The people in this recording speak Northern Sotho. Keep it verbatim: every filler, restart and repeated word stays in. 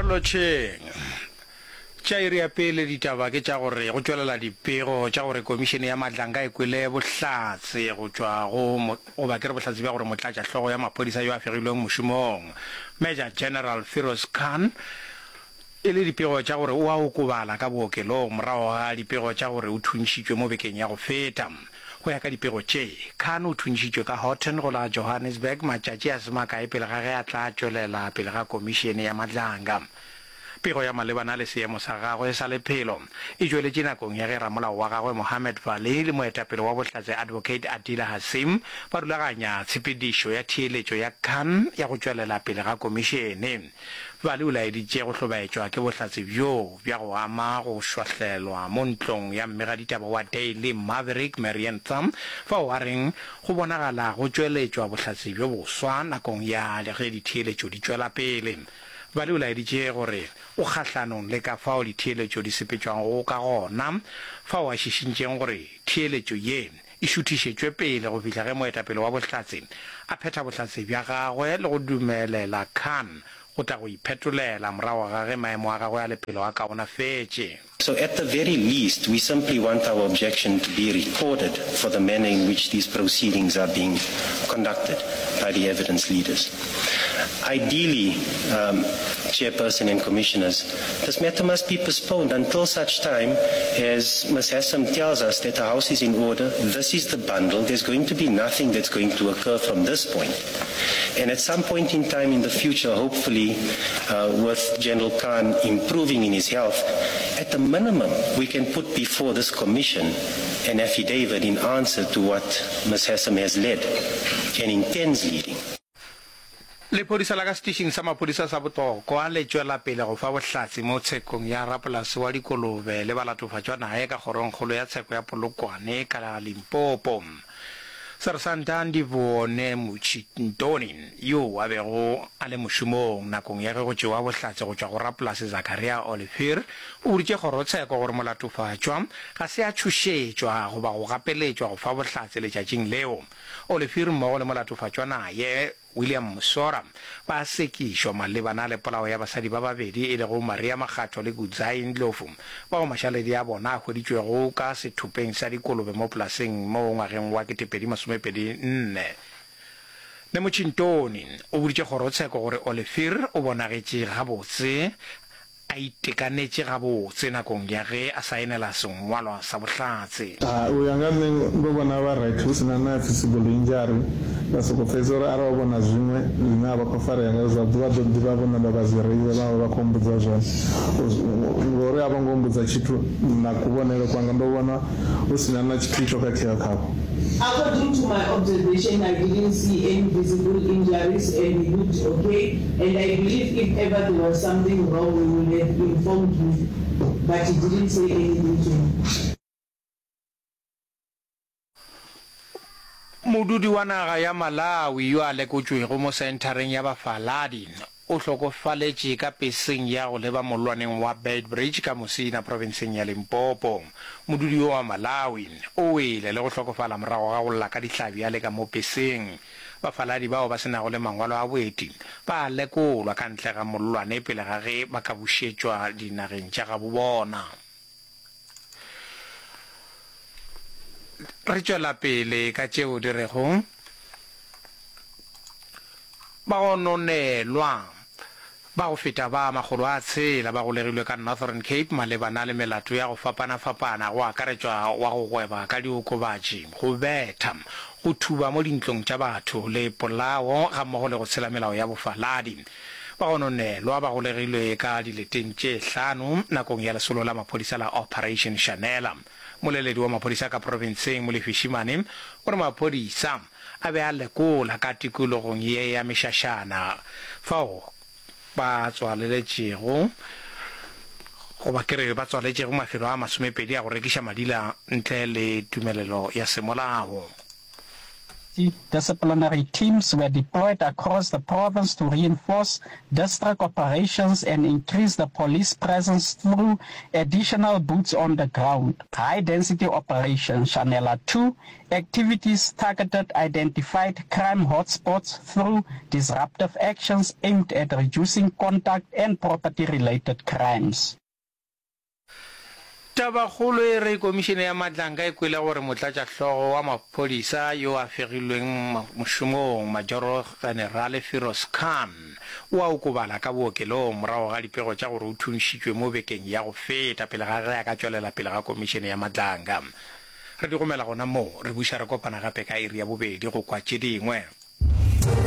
Lotšheng. Tša iri ya pele ditaba ke tša gore go tšwelela dipego tša gore Komišene ya Madlanga e kwele bohlatse go tšwa go goba ke re bohlatse bja gore motlatšahlogo ya maphodisa yo a fegilweng mošomong Major General Firoz Khan e le dipego tša gore o a okobala ka bookelong morago ga dipego tša gore o thuntšhitšwe mo bekeng ya go feta. Go ya ka dipego tše, Khan o thuntšhitšwe ka Houghton go la Johannesburg matšatši a se makae pele ga ge a tla tšwelela pele ga Komišene ya Madlanga. Pego ya malebana le seemo sa gagwe sa lephelo e tšweletše nakong ya ge ramolao wa gagwe Mohammed Vally le moetapele wa bohlatse Advocate Adila Hassim ba rulaganya tshepedišo ya theeletšo ya Khan ya go tšwelela pele ga komišene. Vally o laeditše go hlobaetšwa ke bohlatse bjoo bja go ama go šwahlelwa mo ntlong ya mmegaditaba wa Daily Maverick Marianne Thamm fao a reng go bonagala go tšweletšwa bohlatse bjo boswa nakong ya ge ditheeletšo di tšwela pele. Vally o laeditše gore o kgahlanong le ka fao ditheeletšo di sepetšwago ka gona, fao a šišintšeng gore theeletšo ye e šuthišetšwe pele go fihla ge moetapele wa bohlatse a phetha bohlatse bja gagwe le go dumelela Khan go tla go iphetolela morago ga ge maemo a gagwe a lephelo a kaonafetše. So at the very least, we simply want our objection to be recorded for the manner in which these proceedings are being conducted by the evidence leaders. Ideally, um, Chairperson and Commissioners, this matter must be postponed until such time as Ms. Hassam tells us that the house is in order, this is the bundle, there's going to be nothing that's going to occur from this point. And at some point in time in the future, hopefully, uh, with General Khan improving in his health, at the minimum, we can put before this commission an affidavit in answer to what Ms. Hassam has led and intends leading. Lephodisa la ka setišing sa maphodisa sa Botlokwa le tšwela pele go fa bohlatse mo tshekong ya rapolase wa dikolobe le balatofatšwa naye ka kgorongkgolo ya tsheko ya Polokwane ka Limpopo. Sersanta Ndivhuone Mutshintoni, yoo a bego a le mošomong nakong ya ge go tšewa bohlatse go tšwa go rapolase Zakaria Olivier, o boditše kgorotsheko gore molatofatšwa ga se a tšhošetšwa goba go gapeletšwa go fa bohlatse letšatšing leo. Olivier mmogo le molatofatšwa naye, William Musora, ba sekišwa malebana le polao ya basadi ba babedi e lego Maria Makgatho le Kudzai Ndlovu, bao mašaledi a bona a hweditšwego ka sethopeng sa dikolobe mo polaseng mo ngwageng wa ketepedi masomepedi nne. Nemutshintoni o boditše kgorotsheko gore Olivier o bonagetše gabotse a itekanetše gabotse nakong ya ge a saenela sengwalwa sa bohlatse. A U ya nga nṋe ndo vhona vha right hu si na na visible injury vha soko pfesesa uri arali vha vhona zwiṅwe zwine a vha khou farea ngazwo zwavhuḓi vha ḓo ḓi vha vho namba vha zwi raiser vha vha vha khou mbudza zwone ngori a vho ngo mbudza tshithu na kuvhonele kwanga ndo vhona hu si na na tshithu tsho khakheaho khavho. According to my observation I didn't see any visible injuries and he looked okay and I believe if ever there was something wrong he would have informed me but he didn't say anything to me. Modudi wa naga ya Malawi yo a lekotšwego mo senthareng ya bafaladi o hlokofaletše ka peseng ya go leba mollwaneng wa Beitbridge ka Musina profenseng ya Limpopo. Modudi yo wa Malawi o wele le go hlokofala morago ga go lla ka dihlabi a le ka mo peseng. Bafaladi bao ba se nago le mangwalo a boeti ba a lekolwa ka ntle ga mollwane pele ga ge ba ka bušetšwa dinageng tša gabo bona. Re tšwela pele ka tšeo di rego Ba go nonelwa ba go feta ba makgolo a tshela ba golegilwe ka Northern Cape malebana le melato ya go fapana-fapana go akaretšwa wa go gweba ka diokobatši, go betha, go thuba mo dintlong tša batho le polao gammogo le go tshela melao ya bofaladi. Ba go nonelwa ba golegilwe ka dileteng tše hlano nakong ya lesolo la maphodisa la Operation Shanela. Moleledi wa maphodisa ka profenseng Molefi Shimane o re maphodisa a be a lekola ka tikologong ye ya mešašana fao ba tswaleletšego goba ke re ba tswaletšego mafelo a masomepedi a go rekiša madila ntle le tumelelo ya semolao. Disciplinary teams were deployed across the province to reinforce district operations and increase the police presence through additional boots on the ground. High-density operation Shanela two activities targeted identified crime hotspots through disruptive actions aimed at reducing contact and property-related crimes. Tabakgolo e re Komišene ya Matlanka e kwele gore motlatšahlogo wa maphodisa yo a fegilweng mošomong, Majoro Generale Firoz Khan, o a okobala ka bookelong morago ga dipego tša gore o thunšitšwe mo bekeng ya go feta pele ga ge a ka tšwelela pele ga Komišene ya Matlanka. Re di gomela gona moo, re buša re kopana gape ka iri ya bobedi go kwa tše dingwe.